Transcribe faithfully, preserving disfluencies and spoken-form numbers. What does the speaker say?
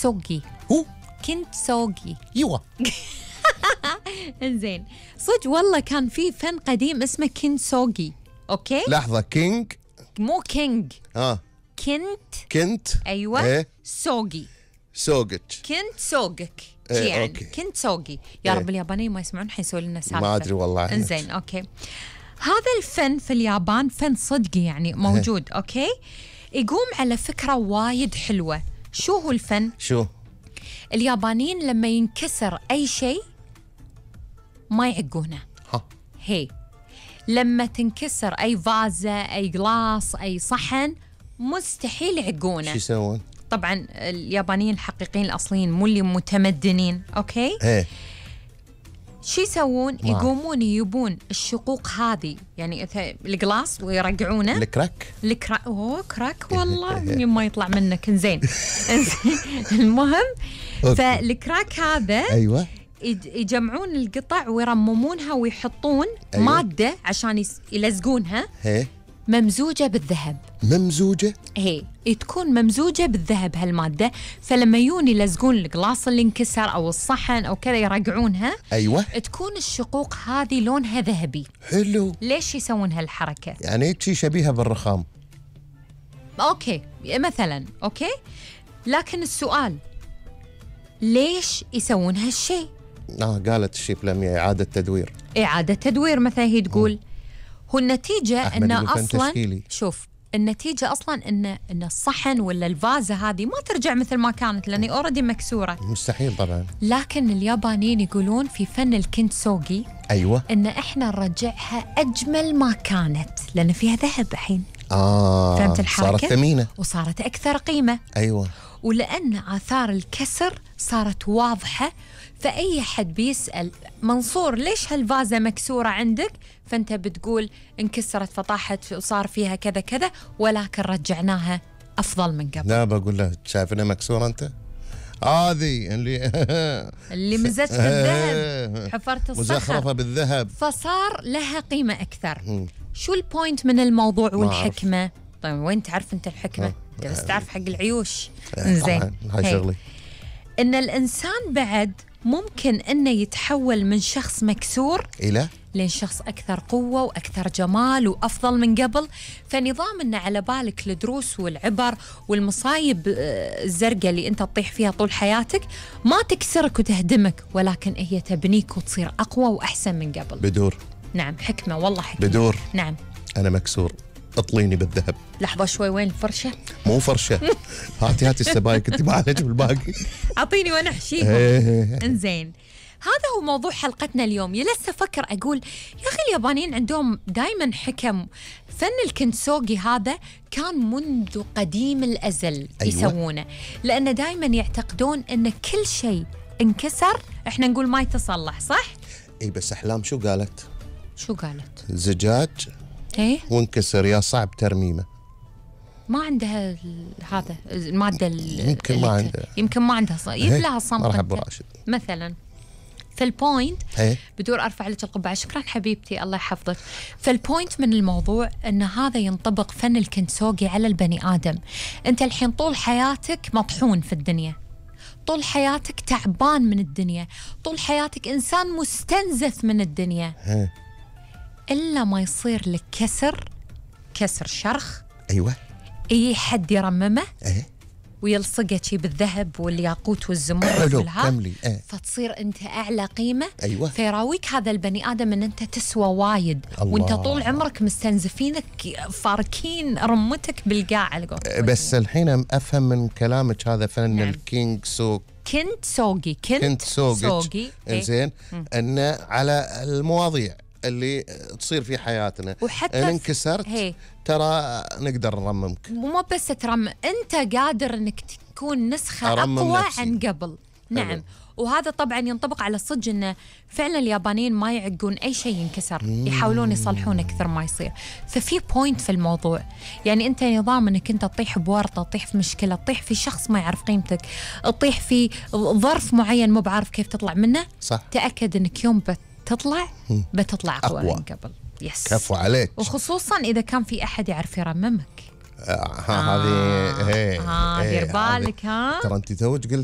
سوقي. هو كنت سوقي. ايوه. انزين صدق والله كان في فن قديم اسمه كنت سوقي. اوكي لحظة، كينج مو كينج. اه كنت كنت ايوه ايه سوقي. سوقك. كنت سوقك إيه، يعني أوكي. كنت سوقي. يا إيه. رب اليابانيين ما يسمعون حيسوي لنا سالفة. ما ادري والله عنك. انزين اوكي. هذا الفن في اليابان فن صدقي يعني موجود. اوكي يقوم على فكرة وايد حلوة. شو هو الفن؟ شو؟ اليابانيين لما ينكسر أي شيء ما يعقونه. ها هي لما تنكسر أي فازة أي جلاس أي صحن مستحيل يعقونه. شو يسوون؟ طبعا اليابانيين الحقيقيين الأصليين مو اللي متمدنين. أوكي ايه شو يسوون؟ يقومون يجيبون الشقوق هذه يعني الجلاس ويرجعونه. الكراك. الكراك. اوه كراك والله ما يطلع منك. انزين المهم فالكراك هذا ايوه يجمعون القطع ويرممونها ويحطون أيوة. مادة عشان يلزقونها هي ممزوجة بالذهب. ممزوجة؟ هي تكون ممزوجة بالذهب هالمادة، فلما يجون يلزقون القلاص اللي انكسر أو الصحن أو كذا يرجعونها. أيوة تكون الشقوق هذه لونها ذهبي. حلو. ليش يسوون هالحركة؟ يعني شي شبيهة بالرخام. أوكي مثلا أوكي، لكن السؤال ليش يسوون هالشيء؟ آه قالت الشيف لميا إعادة تدوير. إعادة تدوير مثلا هي تقول. م. هو النتيجة إن أصلاً تشكيلي. شوف النتيجة أصلاً إن إن الصحن ولا الفازة هذه ما ترجع مثل ما كانت لأني أوريدي مكسورة. مستحيل طبعاً. لكن اليابانيين يقولون في فن الكنتسوغي أيوة إن إحنا نرجعها أجمل ما كانت لأن فيها ذهب الحين. آه فهمت الحركة؟ صارت ثمينة وصارت أكثر قيمة. أيوة. ولأن آثار الكسر صارت واضحة، فأي حد بيسأل منصور ليش هالفازة مكسورة عندك؟ فأنت بتقول انكسرت فطاحت وصار فيها كذا كذا، ولكن رجعناها أفضل من قبل. لا بقول له شايفنا مكسورة أنت؟ هذه اللي اللي مزجت الذهب حفرت الصخر مزخرفة بالذهب فصار لها قيمة أكثر. م. شو البوينت من الموضوع والحكمة؟ طيب وين تعرف أنت الحكمة؟ أنت بس تعرف حق العيوش. زين هاي شغلي. إن الإنسان بعد ممكن إنه يتحول من شخص مكسور إلى لين شخص أكثر قوة وأكثر جمال وأفضل من قبل. فنظام إنه على بالك الدروس والعبر والمصايب الزرقاء اللي أنت تطيح فيها طول حياتك ما تكسرك وتهدمك، ولكن هي تبنيك وتصير أقوى وأحسن من قبل. بدور. نعم حكمة والله حكمة. بدور. نعم. أنا مكسور اطليني بالذهب. لحظة شوي وين الفرشة؟ مو فرشة. هاتي هاتي السبايك انت ما عليك بالباقي. اعطيني وانا احشيهم. انزين هذا هو موضوع حلقتنا اليوم. يلسه افكر اقول يا اخي اليابانيين عندهم دائما حكم. فن الكنتسوغي هذا كان منذ قديم الازل. أيوة. يسوونه لان دائما يعتقدون ان كل شيء انكسر احنا نقول ما يتصلح. صح؟ اي بس احلام شو قالت؟ شو قالت؟ زجاج ايه وانكسر يا صعب ترميمه. ما عندها هذا الماده يمكن ما عندها يمكن ما عندها ص... يبلها صمت. مرحب ابو راشد مثلا. فالبوينت هي. بدور ارفع لك القبعه. شكرا حبيبتي الله يحفظك. فالبوينت من الموضوع ان هذا ينطبق فن الكنتسوغي على البني ادم. انت الحين طول حياتك مطحون في الدنيا، طول حياتك تعبان من الدنيا، طول حياتك انسان مستنزف من الدنيا. هي. إلا ما يصير لك كسر كسر شرخ. أيوة. أي حد يرممه. أيه. ويلصقه شي بالذهب والياقوت والزمرد حلو والها. كملي. أيه. فتصير أنت أعلى قيمة. أيوة. فيراويك هذا البني آدم أن أنت تسوى وايد. الله. وأنت طول عمرك مستنزفينك فاركين رمتك بالقاع. بس الحين أفهم من كلامك هذا فن. نعم. الكينج سوق كنت سوقي كنت, كنت سوقي. إنزين أنه على المواضيع اللي تصير في حياتنا وحتى إن انكسرت هي. ترى نقدر نرممك. مو بس ترمم، أنت قادر أنك تكون نسخة أقوى نفسي. عن قبل. نعم حلو. وهذا طبعا ينطبق على الصدق أنه فعلا اليابانيين ما يعقون أي شيء ينكسر. مم. يحاولون يصلحون أكثر ما يصير. ففي بوينت في الموضوع. يعني أنت نظام أنك أنت تطيح بورطة، تطيح في مشكلة، تطيح في شخص ما يعرف قيمتك، تطيح في ظرف معين مو بعرف كيف تطلع منه. صح. تأكد أنك يوم بت تطلع بتطلع أقوى من قبل. يس. كفو عليك. وخصوصا إذا كان في أحد يعرف يرممك. هذه هي ها دير بالك. ها ترى أنت توج قلتي